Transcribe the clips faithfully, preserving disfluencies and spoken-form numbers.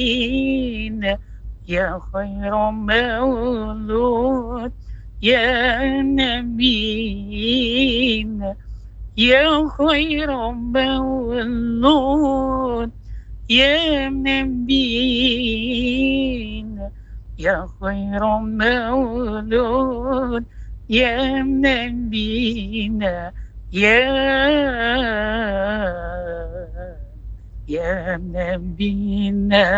Nabina, ya khaira maulud, ya Nabina, ya khaira maulud, ya Nabina, ya khaira maulud, ya Nabina, ya, ya Nabina.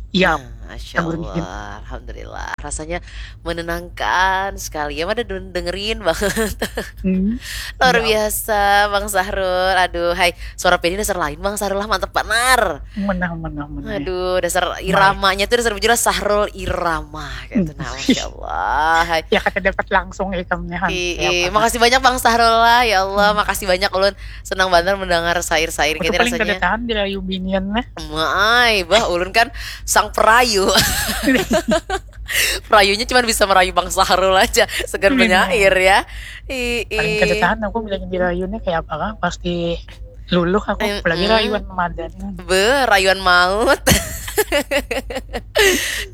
Ya, Nah, Masya Allah, Alhamdulillah. Rasanya menenangkan sekali. Ya, ada dengerin banget. Hmm, luar ya. Biasa, Bang Sahrul. Aduh, hai. Suara piannya dasar lain, Bang Sahrul lah, mantap banar. Menang, menang, menang. Aduh, dasar iramanya tuh dasar bujur Sahrul Irama gitu. Nah, Masya Allah. Hai. Ya, kata dapat langsung ikamnya. Iya, makasih banyak Bang Sahrul lah. Ya Allah, hmm. Makasih banyak ulun. Senang banget mendengar sair-sair kita rasanya. Paling kada tahan dirayu binian lah. Mai, bah ulun kan sang perayu. Perayunya cuma bisa merayu Bang Sahrul aja, segan menyair ya. Ii. Paling kada tahan aku bila dirayu nih kayak apa kah? Pasti luluh aku, apalagi rayuan mamadan. Be, rayuan maut.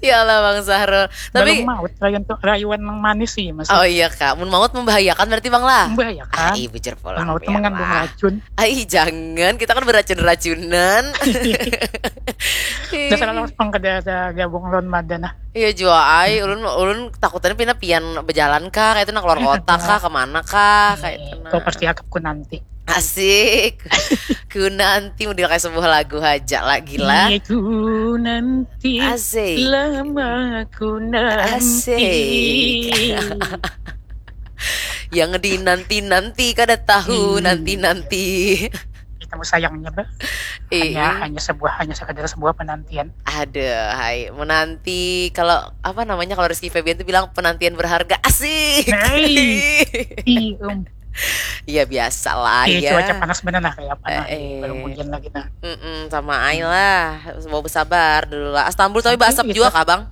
Ya Allah Bang Sahrul. Tapi maut, rayuan tuh rayuan yang manis sih masih. Oh iya kak, mun maut membahayakan berarti Bang lah. Membahayakan. Ah, iya bujur pulang. Maut mengandung racun. Ai jangan, kita kan beracun-racunan. Dasar lawas pang kada ada gabung lawan mada nah. Iya jua ai, ulun ulun takutannya pina pian bejalan kah, kayak itu nah keluar kota kah, kemana kah, kayak itu nah. Kau pasti akapku nanti. Asik. Ku nanti mau kayak sebuah lagu aja lagi lah. Iya, ku nanti. Asik. Lama ku nanti. Asik. Yang dinanti-nanti kada tahu nanti-nanti. Kita mau sayangnya bah. Hanya hanya sebuah hanya sekadar sebuah penantian. Ada, hai menanti kalau apa namanya kalau Rizky Febian tuh bilang penantian berharga asik. Hey. Iya biasa lah ya. Cuaca panas benar lah kayak apa nah. Eh, belum hujan lagi nah. Mm-mm, sama ai lah. Mau bersabar dulu lah. Astambul tapi basap juga kah bang?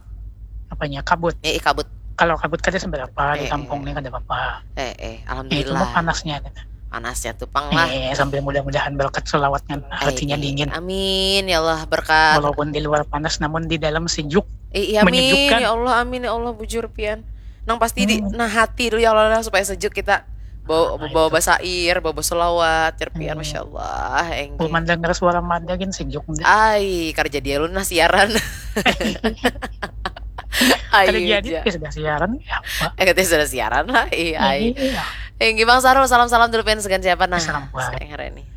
Apanya kabut? Eh, eh kabut. Kalau kabut kada seberapa di kampung nih kada apa-apa. Eh, eh, alhamdulillah. Itu mah panasnya. Panasnya tuh pang lah. Eh, sambil mudah-mudahan berkat selawatnya hatinya dingin. Amin ya Allah berkat. Walaupun di luar panas namun di dalam sejuk. Eh, iya, amin ya Allah, amin ya Allah bujur pian. Nang pasti di nah hati dulu ya Allah supaya sejuk kita. Bawa bawa basair, bawa selawat, cerpian, masya Allah. Enggi. Pemandangan suara mada gin sejuk. Ai, kerja dia lu nah siaran. Ayo. Kerja dia sudah siaran ya. Eh, katanya sudah siaran lah. Iya. Enggi Bang Sarul, salam-salam dulu pengen segan siapa nah? Salam buat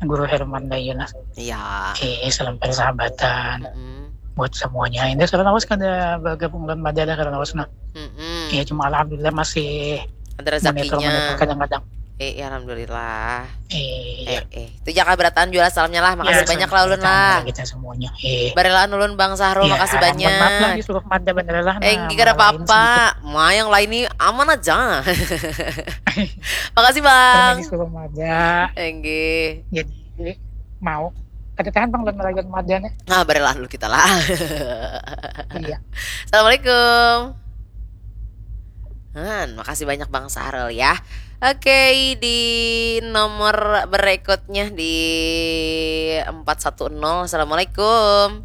Guru Herman Dayun. Iya. Eh, salam persahabatan. Mm-mm. Buat semuanya. Ini salam awas kada bergabung dan mada ada salam awas nah. Mm-mm. Ya cuma alhamdulillah masih ada rezekinya. Monitor, monitor kadang-kadang. Eh, ya, alhamdulillah. Eh, eh, eh. Itu jaga berataan jual salamnya lah. Makasih ya, banyak lah ulun lah. Kita semuanya. Eh. Barelaan ulun Bang Sahrul, ya, makasih banyak. Maaf lah disuruh mada bener lah. Eh, nah, enggak ada apa-apa. Ma yang lain ini aman aja. Makasih Bang. Disuruh mada. Enggih. Jadi mau kada tahan bang dan merayakan mada nih. Nah, barelaan dulu kita lah. Iya. Assalamualaikum. Han, makasih banyak Bang Sahrul ya. Oke, di nomor berikutnya di empat satu nol. Assalamualaikum.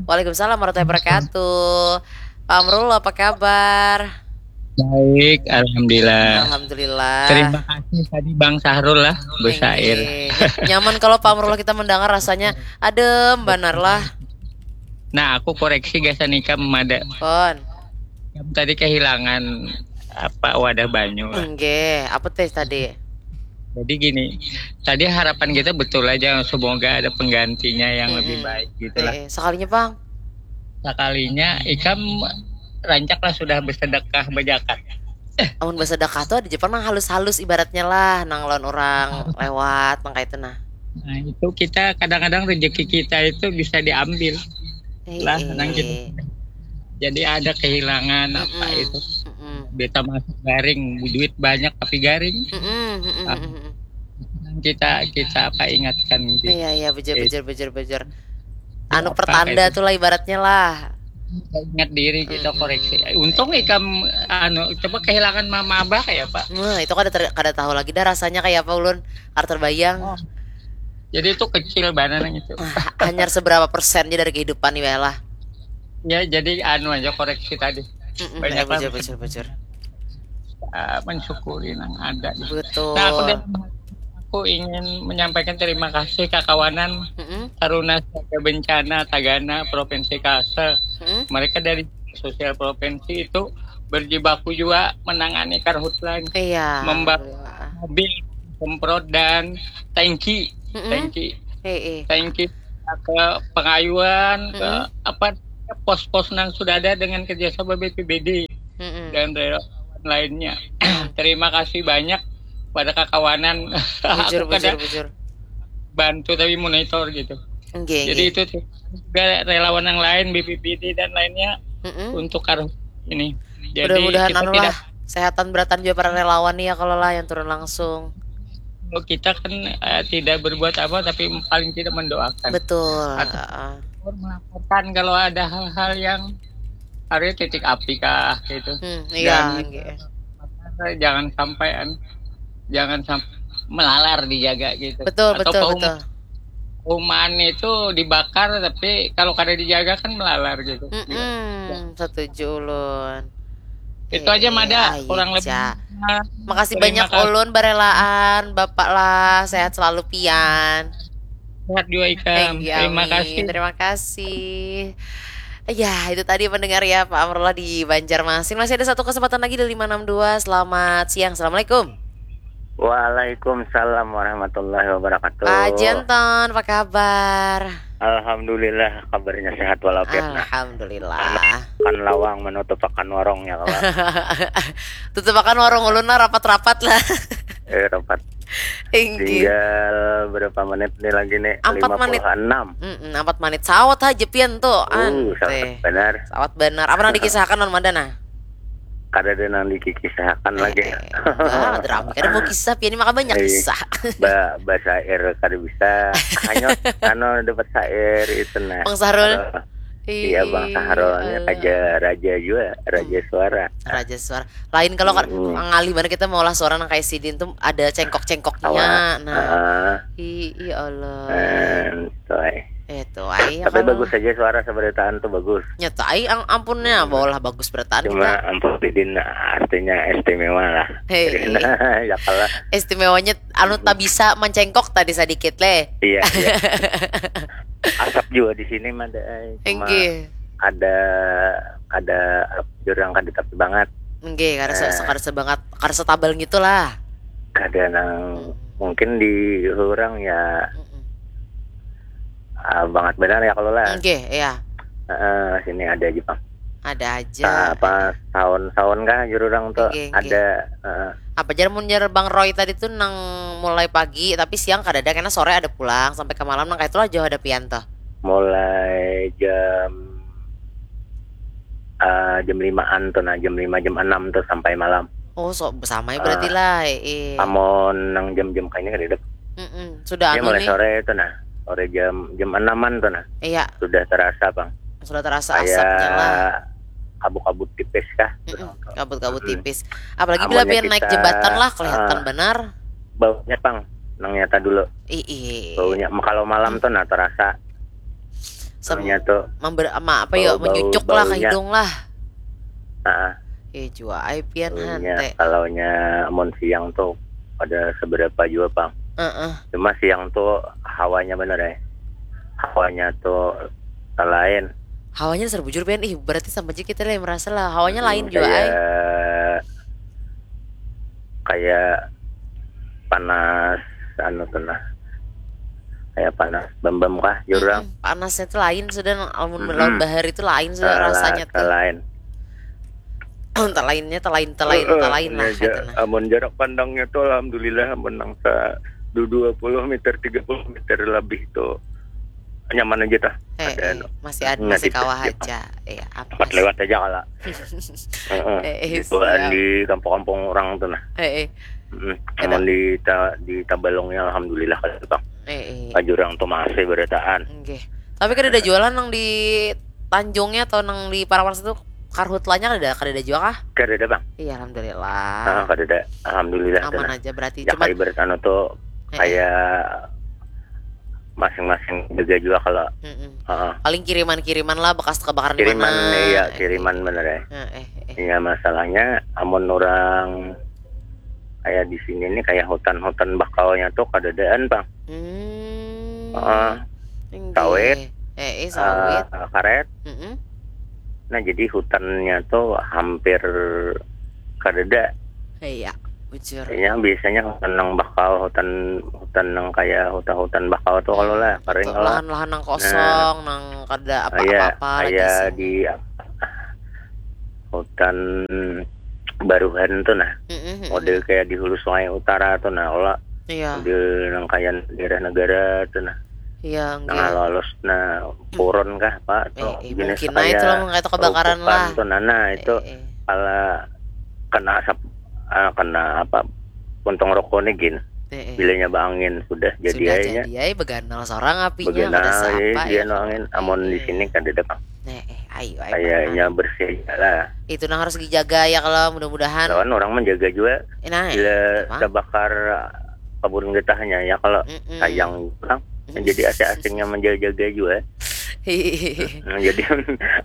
Waalaikumsalam warahmatullahi wabarakatuh. Pak Amrul, apa kabar? Baik, alhamdulillah. Alhamdulillah. Terima kasih tadi Bang Sahrul lah, bersair. Nyaman kalau Pak Amrul kita mendengar rasanya adem banar lah. Nah, aku koreksi gasan ikam mada. Pon. Ikam tadi kehilangan apa wadah banyu lah. Enggak, apa teh tadi? Jadi gini, tadi harapan kita betul aja semoga ada penggantinya yang lebih baik gitu lah. Eh, sekalinya bang. Sekalinya ikam rancak lah sudah bersedekah berjakat. Amun bersedekah tuh ada Jepang nang halus-halus ibaratnya lah, nang lawan orang lewat, nang kayak itu nah. Nah itu kita kadang-kadang rezeki kita itu bisa diambil. Eh, lah, eh. Nang gitu. Jadi ada kehilangan mm -mm. Apa itu. Mm -mm. Beta masuk garing, duit banyak tapi garing. Mm -mm. Mm -mm. Nah, kita kita apa ingatkan gitu. Iya iya bujur bujur bujur bujur. Anu pertanda tuh lah ibaratnya lah. Ingat diri kita koreksi. Untung ikam anu coba kehilangan mama abah kayak apa? Nah, itu kada ter, kada tahu lagi dah rasanya kayak apa ulun. Kada terbayang. Oh. Jadi itu kecil banar nang itu. Hanyar seberapa persen aja dari kehidupan nih lah. Ya, jadi anu aja koreksi tadi. Mm-mm, banyak ya, bujur, bujur, bujur. Uh, mensyukuri nang ada. Betul. Nah, aku, aku ingin menyampaikan terima kasih kakawanan Mm-mm. Taruna Siaga Bencana Tagana Provinsi Kalsel. Mm-mm. Mereka dari sosial provinsi itu berjibaku juga menangani karhutla. Iya. Membawa Alhamdulillah. Mobil, semprot dan tangki, Mm-mm. tangki, Eh, eh. tangki ke pengayuan, ke Mm-mm. apa, pos-pos nang sudah ada dengan kerjasama B P B D Mm-mm. dan relawan lainnya. Terima kasih banyak pada kakawanan. Bujur, Aku kada bujur, bujur. bantu tapi monitor gitu. Nggih, Jadi nggih. Itu juga relawan yang lain, B P B D dan lainnya Mm-mm. untuk karhutla ini. Jadi Mudah-mudahan kita anu tidak lah, sehatan beratan juga para relawan nih ya kalau lah yang turun langsung. Kalau kita kan eh, tidak berbuat apa tapi paling tidak mendoakan. Betul. Atau Heeh. Melaporkan kalau ada hal-hal yang ada titik api kah gitu. Hmm, iya, Dan nggih. Jangan sampai an- jangan sampai melalar dijaga gitu. Betul, Atau betul, pahum- betul. Human itu dibakar tapi kalau kada dijaga kan melalar gitu. Mm-mm, setuju ulun. Itu aja, Eh, Mada, ayo, kurang lebih. Ca. Nah, Makasih terima banyak kasih. Ulun barelaan, Bapak lah, sehat selalu pian. Sehat juga ikam. Thank you, Terima amin. Kasih. Terima kasih. Ya, itu tadi pendengar ya, Pak Amrullah di Banjarmasin. Masih ada satu kesempatan lagi di lima enam dua. Selamat siang. Assalamualaikum. Waalaikumsalam warahmatullahi wabarakatuh. Pak Janton, apa kabar? Alhamdulillah, kabarnya sehat walafiat, nah. Alhamdulillah. Kan lawang menutup akan warungnya, kawan. Tutup akan warung ulun lah, rapat-rapat lah. Eh, rapat. Inggih. Tinggal berapa menit nih lagi nih? Empat menit. Lima puluh enam. Mm-mm, empat menit. Sawat aja pian tuh. Uh, sawat Ante. Benar. Sawat benar. Apa nang dikisahkan, Wan Madana? Kada ada nang dikikisahakan lagi. Eh, bah, ada rame. Kada mau kisah, pian ini maka banyak Eh, kisah. Ba, basair kada bisa. Hanya anu dapat sair itu nah. Bang Sahrul? Kalau- Iya, Bang Sahrul, Iya. Raja, raja juga, raja suara. Raja suara. Lain kalau kan Mm-mm. ngalih mana kita mau lah suara nang kayak sidin tuh ada cengkok-cengkoknya. Awak. Nah. Ah, Ih, ya Allah. eh, tuh, eh. Eh, tuh, ai, ya Tapi kalau bagus aja suara seberitaan tuh bagus. Nyata ai, ang ampunnya, Hmm. baulah bagus berataan Cuma kita. ampun didin artinya istimewa lah. Hei. Ya kalau Istimewanya anu tak bisa mencengkok tadi sedikit leh. Iya, iya. Asap juga di sini mah ada, eh. Cuma Enggih. ada ada jurang kada tapi banget. Enggih, kada se- Eh. kada sebangat, kada setabal gitu lah. Kada nang mungkin di orang ya Mm-mm. ah, banget benar ya kalau lah. Enggih, iya. Heeh, sini ada aja, Bang. Ada aja. Sa- apa tahun-tahun kah jururang tuh Nggih, nggih. Ada heeh. Apa jar mun jar Bang Roy tadi tuh nang mulai pagi tapi siang kada ada, karena sore ada pulang sampai ke malam nang kayak itulah jauh ada pian tuh. Mulai jam eh, jam limaan tuh nah, jam lima jam enam tuh sampai malam. Oh, so sama ya berarti Ah. lah. Eh. Amun nang jam-jam kayaknya kada ada. Mm-mm. Sudah Ini anu mulai nih. Sore tuh nah, sore jam jam enaman tuh nah, Iya, sudah terasa, Bang. sudah terasa asapnya lah. Kayak kabut-kabut tipis kah? Mm-mm. Kabut-kabut Mm-mm. tipis. Apalagi bila Amunnya pian naik kita, jembatan lah kelihatan ah, benar. Baunya, Bang, nang nyata dulu. Ih, ih. Baunya kalau malam tuh nah terasa. Sem- Baunya tuh member ama apa yuk, bau- menyucuk lah ke baunya. Hidung lah. Heeh. Eh, jua ai pian Baunya hante. Kalau nya amun siang tuh ada seberapa juga, Bang. Heeh. Cuma siang tuh hawanya bener ya. Hawanya tuh lain. Hawanya dasar bujur pian, ih berarti sama aja kita lah yang merasa lah. Hawanya Hmm, lain juga ai. Kayak kayak panas anu tuh nah. Kayak panas bambam kah jurang. Mm-mm. Panasnya tuh lain sudah, amun Mm-mm. lawan bahar itu lain sudah Tela- rasanya tuh. Lain. Entah lainnya, entah lain, entah lain, Heeh, entah lain lah ini aja. katanya. Amun jarak pandangnya tuh alhamdulillah menang sa dua puluh meter, tiga puluh meter lebih tuh nyaman aja tah. Eh, Ada eh, anu. masih ada, Nggak masih di- kawah di- aja. Iya, apa Tempat sih? Lewat aja kala. Heeh. Eh, eh, Di bawaan siap. Di kampung-kampung orang tuh nah. Eh, eh. Mm. Ada. Amun di ta- di Tabalongnya alhamdulillah kada, Bang. Eh, eh. Ka jurang tuh masih berataan. Nggih. Tapi kada ada jualan nang di Tanjungnya atau nang di Parawas itu, karhutlanya kada ada, kada ada jua kah? Kada ada, Bang. Iya, alhamdulillah. Ah, kada ada. Alhamdulillah tuh Aman nah. Aja berarti. Ya Cuman kayak ibarat anu tuh Eh, eh. Kayak masing-masing jaga jua kalau. Mm-mm. Heeh. Paling kiriman-kiriman lah bekas kebakaran di Kiriman, mana. Iya, Eh, kiriman eh. Bener ya. Eh, eh, eh. Ya, masalahnya amun orang kayak di sini nih, kayak hutan-hutan bakalnya tuh kadadaan, Bang. Hmm. Heeh. Inggih. Sawit. Eh, eh, sawit. Eh, karet. Mm-mm. Nah, jadi hutannya tuh hampir kadada. Iya, bujur. Ya, biasanya hutan nang bakal, hutan hutan nang kayak hutan-hutan bakal tuh kalau lah, kering Itu kalau. Lahan-lahan nang kosong, nang kada Iya, apa-apa lagi kayak isinya. Di apa, hutan baruhan tuh nah. Mm-mm, mm-mm. Model kayak di Hulu Sungai Utara tuh nah, kalau Iya. Model nang kayak daerah negara tuh nah. Iya, Nang nggih. Halus nah, purun kah apa tuh, Eh, eh, jenis mungkin aja kayak tuh, kayak itu kebakaran rerumpukan lah. Tuh nah, nah itu Eh, eh. Kalau kena asap, ah, kena apa, puntung rokok nih gin. Eh, eh. Bilanya baangin sudah jadi Sudah aja. Jadi aja beganal seorang apinya, Beganal, kada siapa iya, ya. Dia noangin, amun di sini kada ada, Bang. Eh, eh, ayo, ayo. Kayaknya bersih aja lah. Itu nang harus dijaga ya kalau mudah-mudahan. Lawan orang menjaga juga. Eh, nah, Bila emang. Terbakar kabun getahnya ya, kalau Mm-mm. Sayang, Bang. Jadi asing-asingnya menjaga juga. Nah, jadi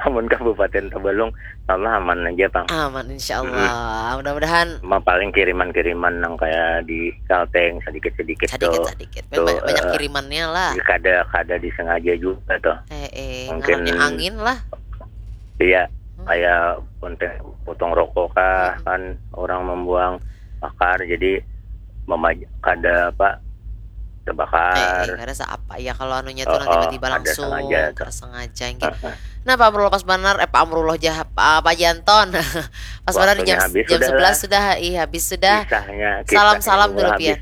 amun Kabupaten Tabalong, Allah aman aja, Bang. Aman, insya Allah. Mudah-mudahan. Cuma paling kiriman-kiriman yang kayak di Kalteng sedikit-sedikit tuh. Sedikit-sedikit. Banyak kirimannya lah. Kada, kada disengaja juga tuh. Eh, eh, Mungkin ngarannya angin lah. Iya, kayak puntung rokok kah, kan orang membuang bakar, jadi memaj-, kada apa, terbakar. Eh, eh, kada seapa ya kalau anunya tuh nanti tiba-tiba langsung, sengaja tuh. Kada sengaja. Nah, Pak Amrullah, pas banar, eh, Pak Amrullah jah, Pak, Pak Janton. Pas banar jam, jam sebelas sudah, ih, habis sudah. Salam-salam dulu pian.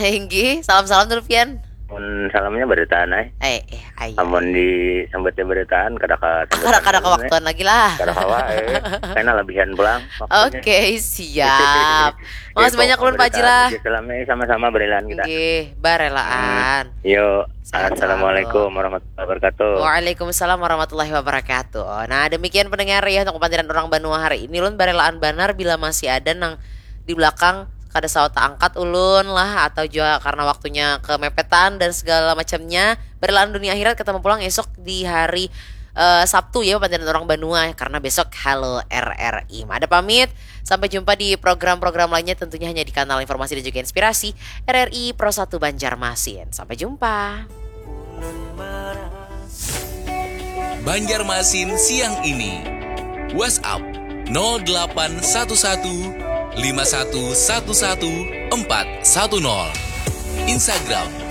Inggih, salam-salam dulu pian. Mun salamnya barataan ai. Eh, eh, ayo. Amun disambatnya barataan, kada ka Kada, kada kawaktuan lagi lah. Kada kawa, eh. Kena labihan pulang. Oke, siap. Makasih banyak ulun, Pak Jila. Salamnya sama-sama, barelaan kita. Nggih, barelaan. Yo, assalamualaikum warahmatullahi wabarakatuh. Waalaikumsalam warahmatullahi wabarakatuh. Nah, demikian pendengar ya untuk pandiran orang banua hari ini. Ulun barelaan banar bila masih ada nang di belakang kada sawat angkat ulun lah, atau juga karena waktunya kemepetan dan segala macamnya. Barelaan dunia akhirat, ketemu pulang esok di hari, eh, Sabtu ya, pandiran orang banua, karena besok Halo R R I. Ada pamit, sampai jumpa di program-program lainnya, tentunya hanya di kanal informasi dan juga inspirasi R R I Pro satu Banjarmasin. Sampai jumpa. Banjarmasin siang ini. WhatsApp nol delapan satu satu lima satu satu satu empat satu nol. Instagram